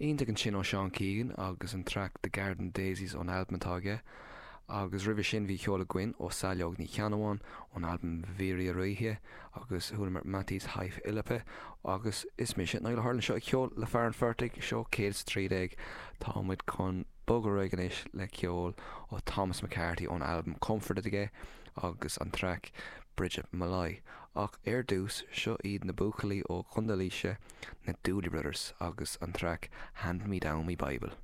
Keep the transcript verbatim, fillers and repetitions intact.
Iontach ansin ó Seán Keegan agus an traic The Garden Daisies ón albam atá aige, agus roimhe sin bhí ceol againn ó Saileog Ní Cheannabháin ón albam Mhírí Ríthe agus chualamar Matís Haif Ilipe agus is mise Niall Hurlin seo ag ceol le fear an phortaigh seo céad is trí déag tá muid chun bogadh anois le ceol ó Thomas McCarthy ón albam Comforted aige agus an traic Bridget Malloy. Ach ar dtús seo iad na buachaillí ó Chontae Laoise na Dooley Brothers agus an traic Hand Me Down Me Bible.